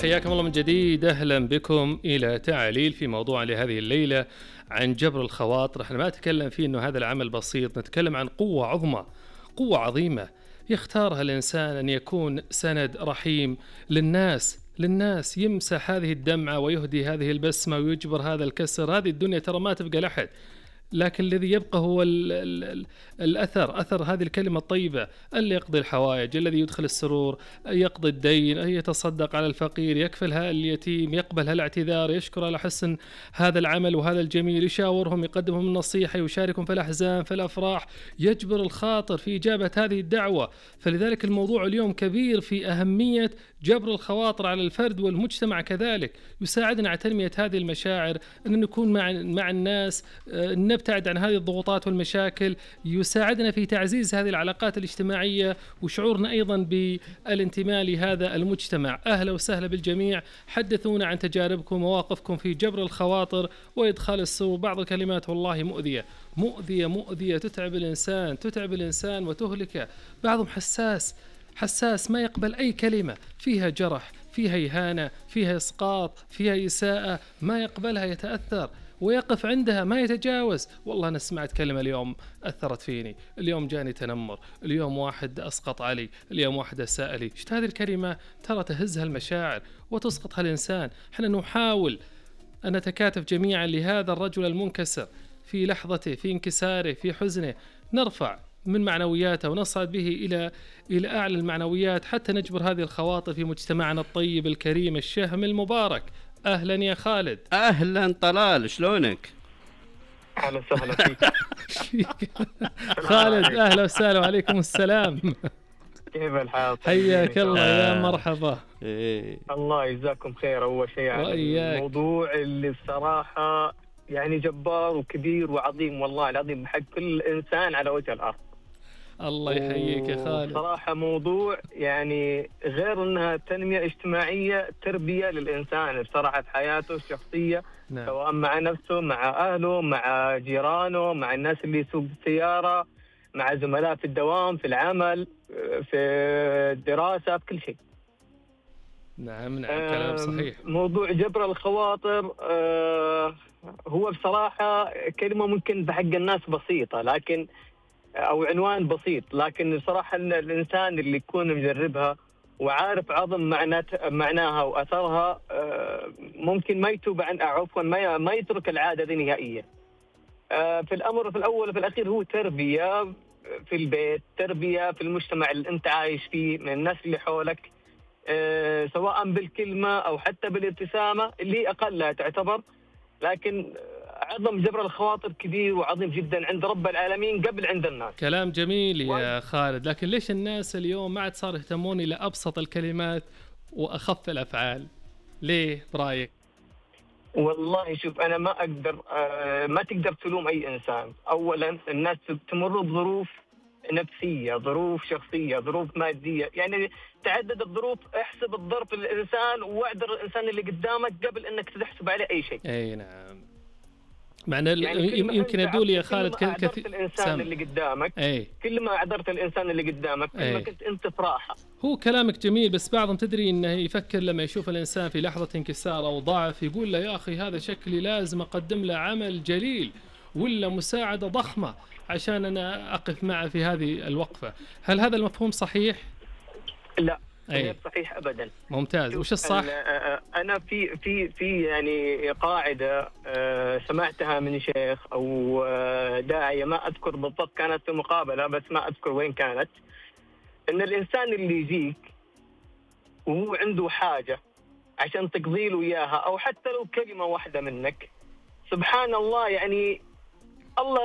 حياكم الله من جديد، أهلا بكم إلى تعاليل في موضوع لهذه الليلة عن جبر الخواطر. احنا ما نتكلم فيه أنه هذا العمل بسيط، نتكلم عن قوة عظمى، قوة عظيمة يختارها الإنسان أن يكون سند رحيم للناس يمسح هذه الدمعة ويهدي هذه البسمة ويجبر هذا الكسر. هذه الدنيا ترى ما تبقى لحد، لكن الذي يبقى هو أثر هذه الكلمة الطيبة، اللي يقضي الحوائج، الذي يدخل السرور، يقضي الدين، يتصدق على الفقير، يكفلها اليتيم، يقبل هالاعتذار، يشكر على حسن هذا العمل وهذا الجميل، يشاورهم، يقدمهم النصيحة، يشاركهم في الأحزان في الأفراح، يجبر الخاطر في إجابة هذه الدعوة. فلذلك الموضوع اليوم كبير في أهمية جبر الخواطر على الفرد والمجتمع كذلك. يساعدنا على تنمية هذه المشاعر، أن نكون مع الناس، نبتعد عن هذه الضغوطات والمشاكل، يساعدنا في تعزيز هذه العلاقات الاجتماعية وشعورنا أيضا بالانتماء لهذا المجتمع. أهلا وسهلا بالجميع، حدثونا عن تجاربكم ومواقفكم في جبر الخواطر وإدخال السرور. بعض الكلمات والله مؤذية تتعب الإنسان وتهلكه. بعضهم حساس ما يقبل أي كلمة فيها جرح، فيها إهانة، فيها إسقاط، فيها إساءة، ما يقبلها، يتأثر ويقف عندها، ما يتجاوز. والله أنا سمعت كلمة اليوم أثرت فيني، اليوم جاني تنمر، اليوم واحد أسقط علي، اليوم واحد أساء لي. شفت هذه الكلمة ترى تهزها المشاعر وتسقطها الإنسان. حنا نحاول أن نتكاتف جميعا لهذا الرجل المنكسر في لحظته، في انكساره، في حزنه، نرفع من معنوياته ونصعد به إلى أعلى المعنويات حتى نجبر هذه الخواطر في مجتمعنا الطيب الكريم الشهم المبارك. أهلا يا خالد. أهلا طلال، شلونك؟ أهلا وسهلا فيك. خالد أهلا وسهلا وعليكم السلام. كيف الحال؟ حياك الله يا مرحبا. الله يجزاكم خير. أول شيء يعني الموضوع اللي الصراحة يعني جبار وكبير وعظيم، والله العظيم حق كل إنسان على وجه الأرض. الله يحييك يا خالد. صراحة موضوع يعني غير أنها تنمية اجتماعية، تربية للإنسان بصراحة في حياته الشخصية. نعم. سواء مع نفسه، مع أهله، مع جيرانه، مع الناس اللي يسوق السيارة، مع زملاء في الدوام، في العمل، في الدراسة، في كل شيء. نعم كلام صحيح. موضوع جبر الخواطر هو بصراحة كلمة ممكن بحق الناس بسيطة، لكن أو عنوان بسيط، لكن صراحة الإنسان اللي يكون مجربها وعارف عظم معناها وأثرها ممكن ما يتوب عن عفوا ما يترك العادة دي نهائيا. في الأمر في الأول وفي الأخير هو تربية في البيت، تربية في المجتمع اللي أنت عايش فيه، من الناس اللي حولك، سواء بالكلمة أو حتى بالابتسامة اللي أقلها تعتبر. لكن عظم جبر الخواطر كبير وعظيم جدا عند رب العالمين قبل عند الناس. كلام جميل يا خالد، لكن ليش الناس اليوم ما عاد صار يهتمون إلى أبسط الكلمات وأخف الأفعال؟ ليه برأيك؟ والله شوف، أنا ما أقدر ما تقدر تلوم أي إنسان. أولا الناس تمر بظروف نفسية، ظروف شخصية، ظروف مادية، يعني تعدد الظروف. احسب الظرف للإنسان واعذر الإنسان اللي قدامك قبل أنك تحسب عليه أي شيء. أي نعم. معنى يعني يمكن يدول يا خالد كثير الإنسان اللي قدامك، كل ما أعذرت الإنسان اللي قدامك كل ما كنت أنت في راحة. هو كلامك جميل، بس بعضهم تدري إنه يفكر لما يشوف الإنسان في لحظة انكسار أو ضعف يقول له يا أخي هذا شكلي لازم أقدم له عمل جليل ولا مساعدة ضخمة عشان أنا أقف معه في هذه الوقفة. هل هذا المفهوم صحيح؟ لا غير صحيح أبدا. ممتاز. وش الصح؟ أنا في يعني قاعدة سمعتها من شيخ أو داعية، ما أذكر بالضبط، كانت في مقابلة بس ما أذكر وين كانت، إن الإنسان اللي يجيك وهو عنده حاجة عشان تقضي له إياها أو حتى لو كلمة واحدة منك، سبحان الله يعني الله